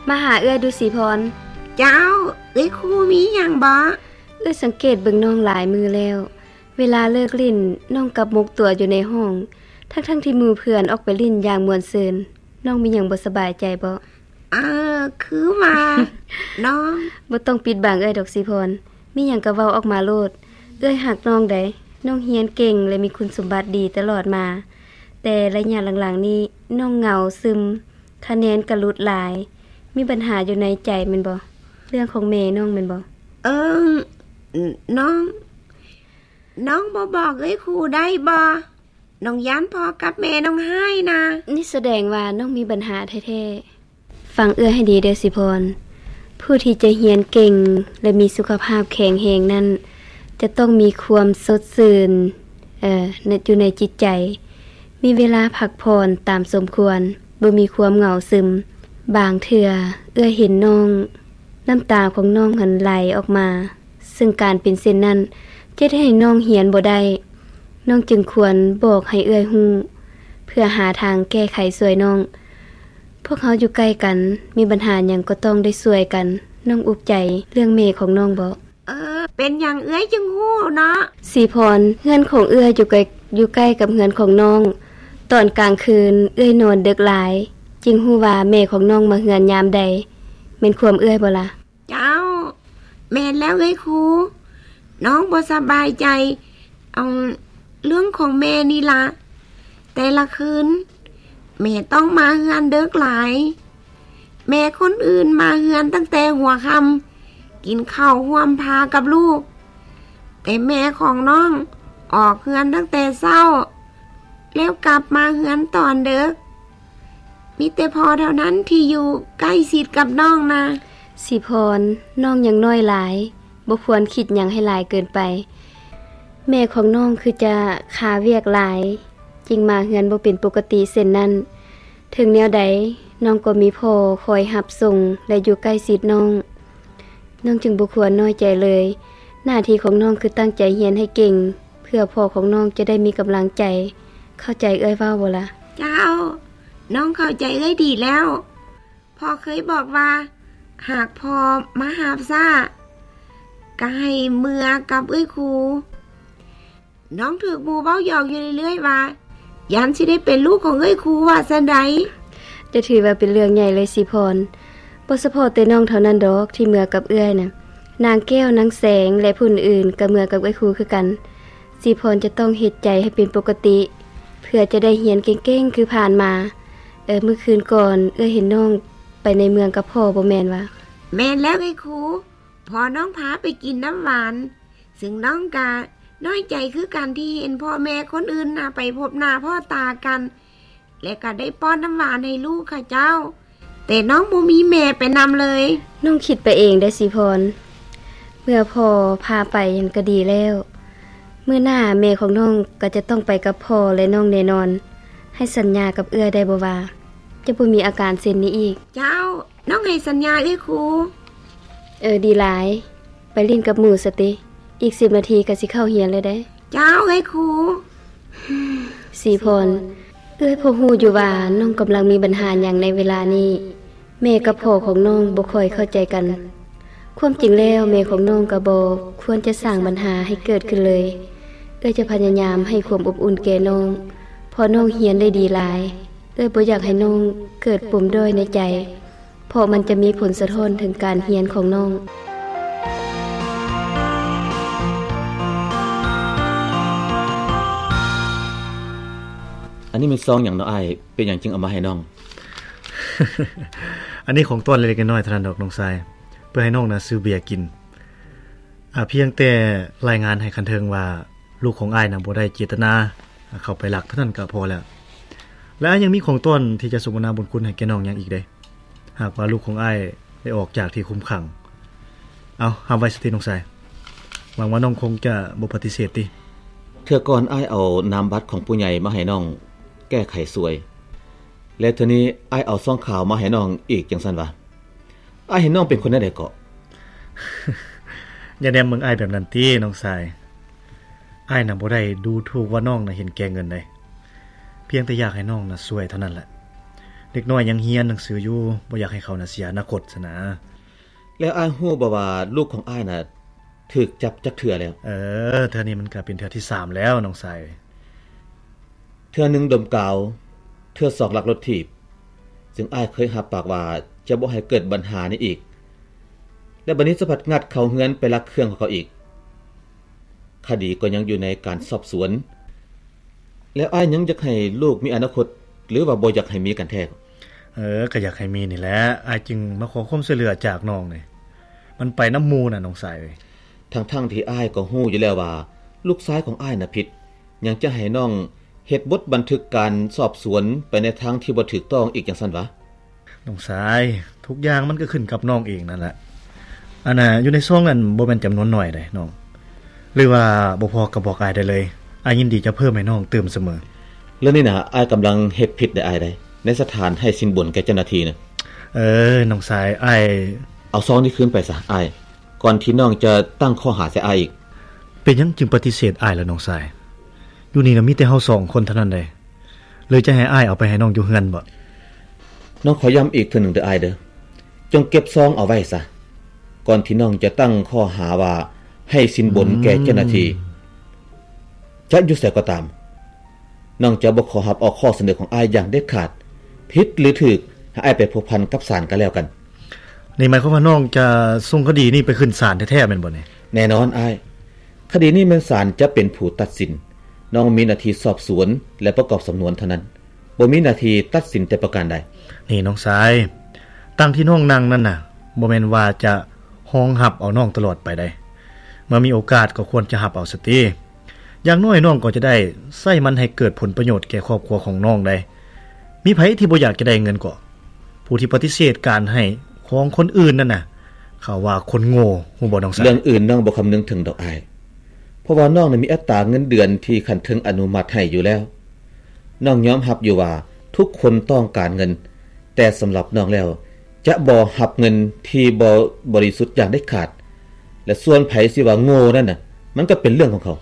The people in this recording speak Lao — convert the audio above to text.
ມາຫາເອື້ອຍດູ ສີພອນ. ເຈົ້າ, ເອື້ອຍຄູມີຫຍັງບໍ? ເອື້ອຍສັງເກດເບິ່ງນ້ອງຫຼາຍມື້ແລ້ວ, ເວລາເລີກຫຼິ້ນ ນ້ອງກັບໝົກຕົວຢູ່ໃນຫ້ອງ, ທັງໆທີ່ໝູ່ເພື່ອນອອກໄປຫຼິ້ນຢ່າງມ່ວນຊື່ນ. ນ້ອງມີຫຍັງບໍ່ສະບາຍໃຈບໍ? ເອີ, ຄືວ່າ ນ້ອງ ບໍ່ຕ້ອງປິດບັງເອື້ອຍດອກ ສີພອນ. ມີຫຍັງກໍເວົ້າອອກມາໂລດ. ເອື້ອຍຮັກນ້ອງໃດ໋. ນ້ອງຮຽນເກັ່ງ ແລະ ມີຄຸນສົມບັດດີຕະຫຼອດມາ, ແຕ່ໄລຍະຫຼັງໆນີ້ນ້ອງເຫງົາຊຶມ, ຄະແນນກໍຫຼຸດຫຼາຍ. ມີບັນຫາຢູ່ໃນໃຈແມ່ນບໍ່? ເລື່ອງຂອງແມ່ນ້ອງແມ່ນບໍ່? ເອີ, ນ້ອງ, ນ້ອງບໍ່ບອກເອື້ອຍຄູໄດ້ບໍ່? ນ້ອງຢ້ານພໍ່ກັບແມ່ນ້ອງຮ້າຍນະ. ນີ້ສະແດງວ່ານ້ອງມີບັນຫາແທ້ໆ. ຟັງເອື້ອຍໃຫ້ດີເດີ ສີພອນ. ຜູ້ທີ່ຈະຮຽນເກັ່ງ ແລະ ມີສຸຂະພາບແຂງແຮງນັ້ນ ຈະຕ້ອງມີຄວາມສົດຊື່ນ, ເອີ, ໃນ, ຢູ່ໃນຈິດໃຈ, ມີເວລາພັກຜ່ອນຕາມສົມຄວນ, ບໍ່ມີຄວາມເຫງົາຊຶມ. ບາງເທື່ອເອື້ອຍເຫັນນ້ອງ, ນ້ຳຕາຂອງນ້ອງຫັ້ນໄຫຼອອກມາ. ເຊິ່ງການເປັນເຊັ່ນນັ້ນ ຈະເຮັດໃຫ້ນ້ອງຮຽນບໍ່ໄດ້. ນ້ອງຈຶ່ງຄວນບອກໃຫ້ເອື້ອຍຮູ້ ເພື່ອຫາທາງແກ້ໄຂຊ່ວຍນ້ອງ. ພວກເຮົາຢູ່ໃກ້ກັນ, ມີບັນຫາຫຍັງກໍຕ້ອງໄດ້ຊ່ວຍກັນ. ນ້ອງອຸກໃຈເລື່ອງແມ່ຂອງນ້ອງບໍ? ເອີ, ເປັນຫຍັງເອື້ອຍຈຶ່ງຮູ້ເນາະ? ສີພອນ, ເຮືອນຂອງເອື້ອຍຢູ່ໃກ້, ຢູ່ໃກ້ກັບເຮືອນຂອງນ້ອງ. ຕອນກາງຄືນເອື້ອຍນອນເດິກຫຼາຍ, ຈຶ່ງຮູ້ວ່າແມ່ຂອງນ້ອງມາເຮືອນຍາມໃດ. ແມ່ນຄວາມເອື້ອຍບໍລະ? ເຈົ້າ, ແມ່ນແລ້ວເອື້ອຍຄູ. ນ້ອງບໍ່ສະບາຍໃຈ ເອົາ ເລື່ອງຂອງແມ່ນີ້ລະ. ແຕ່ລະຄືນ ແມ່ຕ້ອງມາເຮືອນເດິກຫຼາຍ. ແມ່ຄົນອື່ນມາເຮືອນຕັ້ງແຕ່ຫົວຄ່ຳ, ກິນເຂົ້າຮ່ວມພາກັບລູກ. ແຕ່ແມ່ຂອງນ້ອງອອກເຮືອນຕັ້ງແຕ່ເຊົ້າ, ແລ້ວກັບມາເຮືອນຕອນເດິກ. ມີແຕ່ພໍ່ເທົ່ານັ້ນທີ່ຢູ່ໃກ້ຊິດກັບນ້ອງນະ. ສີພອນ, ນ້ອງຍັງນ້ອຍຫຼາຍ, ບໍ່ຄວນຄິດຫຍັງໃຫ້ຫຼາຍເກີນໄປ. ແມ່ຂອງນ້ອງຄືຈະຄາວຽກຫຼາຍ, ຈຶ່ງມາເຮືອນບໍ່ເປັນປົກກະຕິເຊັ່ນນັ້ນ. ເຖິງແນວໃດ, ນ້ອງກໍມີພໍ່ຄອຍຮັບສົ່ງ ແລະ ຢູ່ໃກ້ຊິດນ້ອງ. ນ້ອງຈຶ່ງບໍ່ຄວນນ້ອຍໃຈເລີຍ. ໜ້າທີ່ຂອງນ້ອງຄືຕັ້ງໃຈຮຽນໃຫ້ເກັ່ງ, ເພື່ອພໍ່ຂອງນ້ອງຈະໄດ້ມີກຳລັງໃຈ. ເຂົ້າໃຈເອື້ອຍເວົ້າບໍ່ລະ? ເຈົ້າ, ນ້ອງເຂົ້າໃຈເອື້ອຍດີແລ້ວ. ພໍ່ເຄີຍບອກວ່າ ຫາກພໍ່ມາຮັບຊ້າ ກໍໃຫ້ເມືອກັບເອື້ອຍຄູ. ນ້ອງຖືກໝູ່ເວົ້າຢອກຢູ່ເລື້ອຍໆວ່າ ຢ້ານຊິໄດ້ເປັນລູກຂອງເອື້ອຍຄູວ່າຊັ້ນໃດ. ຈະຖືວ່າເປັນເລື່ອງໃຫຍ່ເລີຍສີພອນ. ບໍ່ສະເພາະແຕ່ນ້ອງເທົ່ານັ້ນດອກທີ່ເມືອກັບເອື້ອຍນະ. ນາງແກ້ວ, ນາງແສງ ແລະ ຜູ້ອື່ນໆກໍເມືອກັບເອື້ອຍຄູຄືກັນ. ສີພອນຈະຕ້ອງເຮັດໃຈໃຫ້ເປັນປົກກະຕິ ເພື່ອຈະໄດ້ຮຽນເກັ່ງໆຄືຜ່ານມາ. ເອີ, ມື້ຄືນກ່ອນເອື້ອຍເຫັນນ້ອງໄປໃນເມືອງກັບພໍ່ບໍ່ແມ່ນວະ? ແມ່ນແລ້ວເອື້ອຍຄູ. ພໍ່ນ້ອງພາໄປກິນນ້ຳຫວານ, ຊຶ່ງນ້ອງກະນ້ອຍໃຈຄືກັນທີ່ເຫັນພໍ່ແມ່ຄົນອື່ນນະໄປພົບໜ້າພໍ້ຕາກັນ ແລະ ກະໄດ້ປ້ອນນ້ຳຫວານໃຫ້ລູກເຂົາເຈົ້າ, ແຕ່ນ້ອງບໍ່ມີແມ່ໄປນຳເລີຍ. ນ້ອງຄິດໄປເອງໄດ໋ສີພອນ, ເມື່ອພໍ່ພາໄປຫັ້ນກະດີແລ້ວ. ມື້ໜ້າແມ່ຂອງນ້ອງກະຈະຕ້ອງໄປກັບພໍ່ ແລະ ນ້ອງແນ່ນອນ. ໃຫ້ສັນຍາກັບເອື້ອຍໄດ້ບໍ່ວ່າ ຈະບໍ່ມີອາການເຊັ່ນນີ້ອີກ? ເຈົ້າ, ນ້ອງໃຫ້ສັນຍາເອື້ອຍຄູ. ເອີ, ດີຫຼາຍ. ໄປຫຼິ້ນກັບໝູ່ສະຕິ. ອີກສິບນາທີກໍຊິເຂົ້າຮຽນແລ້ວເດ້. ເຈົ້າ, ເອື້ອຍຄູ. ສີພອນ, ເອື້ອຍພໍຮູ້ຢູ່ວ່ານ້ອງກຳລັງມີບັນຫາຫຍັງໃນເວລານີ້. ແມ່ກັບພໍ່ຂອງນ້ອງບໍ່ຄ່ອຍເຂົ້າໃຈກັນ. ຄວາມຈິງແລ້ວແມ່ຂອງນ້ອງກໍບໍ່ຄວນຈະສ້າງບັນຫາໃຫ້ເກີດຂຶ້ນເລີຍ. ເອື້ອຍຈະພະຍາຍາມໃຫ້ຄວາມອົບອຸ່ນແກ່ນ້ອງ, ເພາະນ້ອງຮຽນໄດ້ດີຫຼາຍ. ເອື້ອຍບໍ່ຢາກໃຫ້ນ້ອງເກີດປົມດ້ອຍໃນໃຈ. ເພາະມັນຈະມີຜົນສະທ້ອນເຖິງການຮຽນຂອງນ້ອງ. ອັນນີ້ແມ່ນຊອງຫຍັງເນາະອ້າຍ? ເປັນຫຍັງຈຶ່ງເອົາມາໃຫ້ນ້ອງ? ອັນນີ້ຂອງຕ້ອນເລັກໆນ້ອຍໆເທົ່ານັ້ນດອກນ້ອງຊາຍ, ເພື່ອໃຫ້ນ້ອງນະຊື້ເບຍກິນ. ອາ, ພຽງແຕ່ລາຍງານໃຫ້ຂັ້ນເທິງວ່າ ລູກຂອງອ້າຍນະບໍ່ໄດ້ເຈດຕະນາເຂົ້າໄປລັກເທົ່ານັ້ນກໍພໍແລ້ວ. ແລະ ອ້າຍຍັງມີຂອງຕ້ອນທີ່ຈະສົມທະນາບຸນຄຸນໃຫ້ແກ່ນ້ອງຫຍັງອີກເດ້. ຫາກວ່າລູກຂອງອ້າຍໄດ້ອອກຈາກທີ່ຄຸມຂັງ. ເອົາ, ຮັບໄວ້ສະຕິນ້ອງຊາຍ. ຫວັງວ່ານ້ອງຄົງຈະບໍ່ປະຕິເສດຕິ. ເທື່ອກ່ອນອ້າຍເອົານາມບັດຂອງຜູ້ໃຫຍ່ມາໃຫ້ນ້ອງແກ້ໄຂຊ່ວຍ, ແລະ ເທື່ອນີ້ອ້າຍເອົາຊອງຂາວມາໃຫ້ນ້ອງອີກຈັ່ງຊັ້ນຫວາ? ອ້າຍເຫັນນ້ອງເປັນຄົນແນວໃດເກາະ? ຢ່າແນມເບິ່ງອ້າຍແບບນັ້ນຕິນ້ອງຊາຍ. ອ້າຍນະບໍ່ໄດ້ດູຖູກວ່ານ້ອງນະເຫັນແກ່ເງິນໃດ. ພຽງແຕ່ຢາກໃຫ້ນ້ອງນະຊ່ວຍເທົ່ານັ້ນແຫຼະ. ເດັກນ້ອຍຍັງຮຽນໜັງສືຢູ່, ບໍ່ຢາກໃຫ້ເຂົານະເສຍອະນາຄົດຊັ້ນນະ. ແລ້ວອ້າຍຮູ້ບໍ່ວ່າລູກຂອງອ້າຍນະຖືກຈັບຈັກເທື່ອແລ້ວ? ເອີ, ເທື່ອນີ້ມັນກະເປັນເທື່ອທີສາມແລ້ວນ້ອງຊາຍ. ເທື່ອໜຶ່ງດົມກາວ, ເທື່ອສອງລັກລົດຖີບ, ຊຶ່ງອ້າຍເຄີຍຮັບປາກວ່າຈະບໍ່ໃຫ້ເກີດບັນຫານີ້ອີກ. ແລະບັດນີ້ສະພັດງັດເຂົ້າເຮືອນໄປລັກເຄື່ອງຂອງເຂົາອີກ. ຄະດີກໍຍັງຢູ່ໃນການສອບສວນ. ແລ້ວອ້າຍຍັງຢາກໃຫ້ລູກມີອະນາຄົດ ຫຼືວ່າບໍ່ຢາກໃຫ້ມີກັນແທ້? ເອີ, ກໍຢາກໃຫ້ມີນີ້ແຫຼະ, ອ້າຍຈຶ່ງມາຂໍຄວາມຊ່ວຍເຫຼືອຈາກນ້ອງນີ້. ມັນໄປນຳໝູ່ນະນ້ອງຊາຍເອີຍ. ທັງໆທີ່ອ້າຍກໍຮູ້ຢູ່ແລ້ວວ່າລູກຊາຍຂອງອ້າຍນະຜິດ, ຍັງຈະໃຫ້ນ້ອງເຮັດບົດບັນທຶກການສອບສວນໄປໃນທາງທີ່ບໍ່ຖືກຕ້ອງອີກຈັ່ງຊັ້ນຫວາ? ນ້ອງຊາຍ, ທຸກຢ່າງມັນກໍຂຶ້ນກັບນ້ອງເອງນັ້ນແຫຼະ. ອັນນ່າ, ຢູ່ໃນຊອງນັ້ນບໍ່ແມ່ນຈຳນວນໜ້ອຍໃດ໋ນ້ອງ. ຫຼືວ່າບໍ່ພໍກໍບອກອ້າຍໄດ້ເລີຍ, ອ້າຍຍິນດີຈະເພີ່ມໃຫ້ນ້ອງຕື່ມສະເໝີ. ເລື່ອງນີ້ນະ, ອ້າຍກຳລັງເຮັດຜິດໃດ໋ອ້າຍໃດ໋, ໃນສະຖານໃຫ້ສິນບົນແກ່ເຈົ້າໜ້າທີ່ນະ. ເອີ, ນ້ອງຊາຍ, ອ້າຍ ເອົາຊອງນີ້ຄືນໄປຊະອ້າຍ, ກ່ອນທີ່ນ້ອງຈະຕັ້ງຂໍ້ຫາໃສ່ອ້າຍອີກ. ເປັນຫຍັງຈຶ່ງປະຕິເສດອ້າຍລະນ້ອງຊາຍ? ຢູ່ນີ້ນະມີແຕ່ເຮົາສອງຄົນເທົ່ານັ້ນໃດ໋. ຫຼືຈະໃຫ້ອ້າຍເອົາໄປໃຫ້ນ້ອງຢູ່ເຮືອນບໍ? ນ້ອງຂໍຢ້ຳອີກເທື່ອໜຶ່ງເດີອ້າຍເດີ, ຈົ່ງເກັບຊອງເອົາໄວ້ຊະ, ກ່ອນທີ່ນ້ອງຈະຕັ້ງຂໍ້ຫາວ່າໃຫ້ສິນບົນແກ່ເຈົ້າໜ້າທີ່. ຈະຢູ່ໃສກໍຕາມ, ນ້ອງຈະບໍ່ຂໍຮັບເອົາຂໍ້ສະເໜີຂອງອ້າຍຢ່າງເດັດຂາດ. ຜິດຫຼືຖືກ, ໃຫ້ອ້າຍໄປພົວພັນກັບສານກໍແລ້ວກັນ. ນີ້ໝາຍຄວາມວ່ານ້ອງຈະສົ່ງຄະດີນີ້ໄປຂຶ້ນສານແທ້ໆແມ່ນບໍ່ນີ້? ແນ່ນອນອ້າຍ, ຄະດີນີ້ແມ່ນສານຈະເປັນຜູ້ຕັດສິນ. ນ້ອງມີໜ້າທີ່ສອບສວນ ແລະ ປະກອບສຳນວນເທົ່ານັ້ນ, ບໍ່ມີໜ້າທີ່ຕັດສິນແຕ່ປະການໃດ. ນີ້ນ້ອງຊາຍ, ຕັ່ງທີ່ນ້ອງນັ່ງນັ້ນນະ, ບໍ່ແມ່ນວ່າຈະຮອງຮັບເອົານ້ອງຕະຫຼອດໄປໃດ໋. ເມື່ອມີໂອກາດກໍຄວນຈະຮັບເອົາຊະຕິ. ຢ່າງໜ້ອຍນ້ອງກໍຈະໄດ້ໃຊ້ມັນໃຫ້ເກີດຜົນປະໂຫຍດແກ່ຄອບຄົວຂອງນ້ອງໄດ໋. ມີໃຜທີ່ບໍ່ຢາກຈະໄດ້ເງິນກໍ? ຜູ້ທີ່ປະຕິເສດການໃຫ້ຂອງຄົນອື່ນນັ້ນນະ, ເຂົາວ່າຄົນໂງ່, ຮູ້ບໍ່ນ້ອງຊາຍ? ເລື່ອງອື່ນນ້ອງບໍ່ຄຳນຶງເຖິງດອກອ້າຍ, ເພາະວ່ານ້ອງນະມີອັດຕາເງິນເດືອນທີ່ຂັ້ນເທິງອະນຸມັດໃຫ້ຢູ່ແລ້ວ. ນ້ອງຍອມຮັບຢູ່ວ່າທຸກຄົນຕ້ອງການເງິນ, ແຕ່ສຳລັບນ້ອງແລ້ວ ຈະບໍ່ຮັບເງິນທີ່ບໍ່ບໍລິສຸດຢ່າງເດັດຂາດ. ແລະ ສ່ວນໃຜຊິວ່າໂງ່ນັ້ນນະ, ມັນກໍເປັນເລື່ອງຂອງເຂົາ.